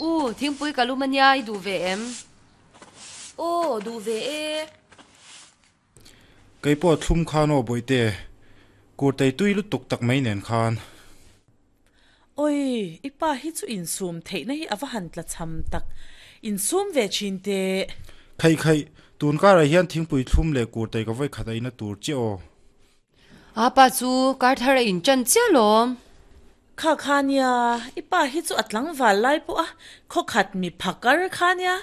U, thingpui ka lum ania i duh ve em? Aw, duh ve e. Kei pawh thlum khan aw Bawihte, kurtei tui lutuk tak mai nen khan. Oi, i pa hi chu insum theihna hi a va han tla cham tak. Insum ve thin teh. Khaih khaih, tun karah hian thingpui thlum leh kurtei ka vawi khat a ina tur chiah aw. A pa chu kar thar a inchan chiah lawm. Kha kha nia, i pa hi chu a tlangval lai pawh a khawkhat mi phakar kha nia.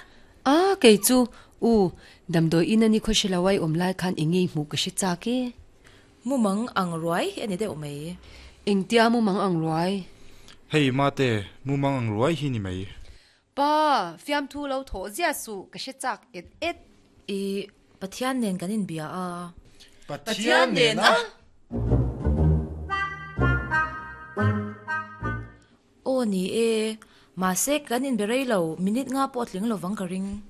A, kei chu, u, damdawi in a ni khaw hre lo ai awm lai khan eng nge i hmuh ka hre chak e. Mumang ang ruai hi a ni deuh mai. Engtia mumang ang ruai? Hei mate, mumang ang ruai hi ni mai. Pa, fiamthu lo thawh ziah suh, ka hre chak et et. I Pathian nen kan inbia a. Pathian nen a? Aw ni e, mahse kan inbe rei lo, minute nga pawh a tling lovang ka ring.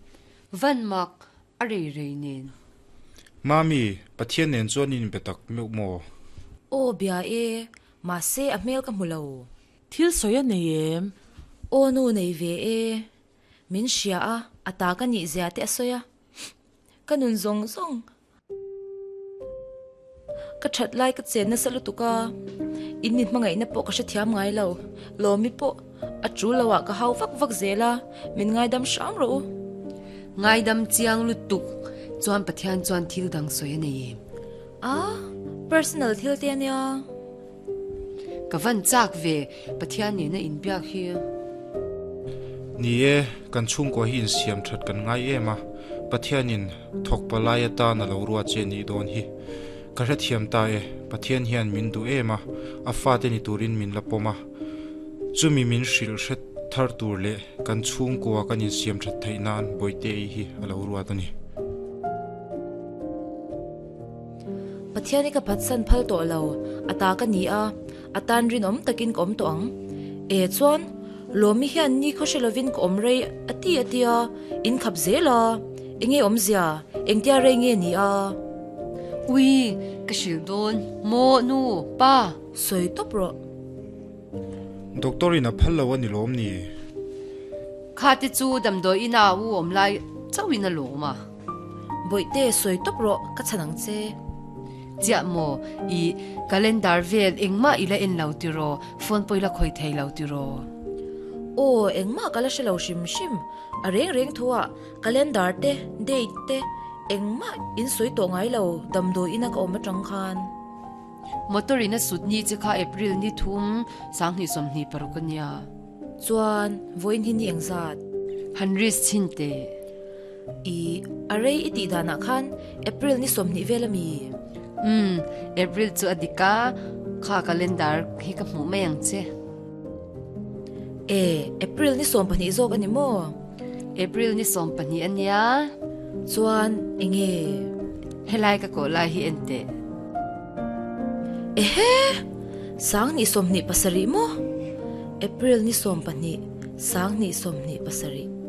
Van mak, a rei rei nen. Mami, Pathian nen chuan in inbe tak meuh maw? Aw bia e, mahse a hmel ka hmu lo. Thil sawi a nei em? Aw nu nei ve e, min hria a, a ta ka nih zia te a sawi a, ka nun zawng zawng. Ka that lai ka chen nasa lutuk a, in ni hmangaihna pawh ka hrethiam ngai lo, Lawmi pawh a tul lo ah ka hau vak vak zel a, min ngaidam hram rawh u. Ngaidam chiang lutuk chuan Pathian chuan thil dang sawi a nei em? A, personal thil te ania. Ka van chak ve, Pathian nena inbiak hi. Ni e, kan chhungkua hi insiam that kan ngai em a, Pathianin thawk palai atan a lo ruat che nih dawn hi. Ka hrethiam ta e, Pathian hian min duh em a, a fate ni turin min la pawm a. Chumi min hrilh hre thar tur leh kan chhungkua kan insiam that theih nan Bawihte-i hi a lo ruat a ni. Pathian hi ka phatsan phal tawh lo, a ta ka ni a, a tan rinawm takin ka awm tawh ang. E chuan, Lawmi hian ni khaw hre lovin ka awm rei a ti a tia, in khap zel a, enge awmzia, engtia rei nge ni a? Ui, ka hrilh dawn, maw nu, pa? Sawi tawp rawh. Doctor in a phal lo a ni lawm ni? Kha te chu damdawi ina u awm lai chauhin a lawm a. Bawihte sawi tawp rawh ka chhan ang che. Chiah maw i calendar vel engmah i la en lo tiraw, phone pawh i la khawi thei lo tiraw? Aw engmah ka la hre lo hrim hrim, a reng reng thu ah calendar te date te engmah in sawi tawh ngai lo damdawi ina ka awm atang khan. Motor in a sut ni che kha April ni thum 2026 a nia. Chuan vawiin hi ni engzat? Han risk chhin teh. I, a rei i tih danah khan April ni 20 vel a mi? Umm, April chu a dik a, kha calendar hi ka hmuh mai ang che. E, April ni 12 zawk a ni maw? April ni 12 a nia. Chuan enge? Helai ka kawh lai hi en teh. Ehe! 2027 maw? April ni 12, 2027.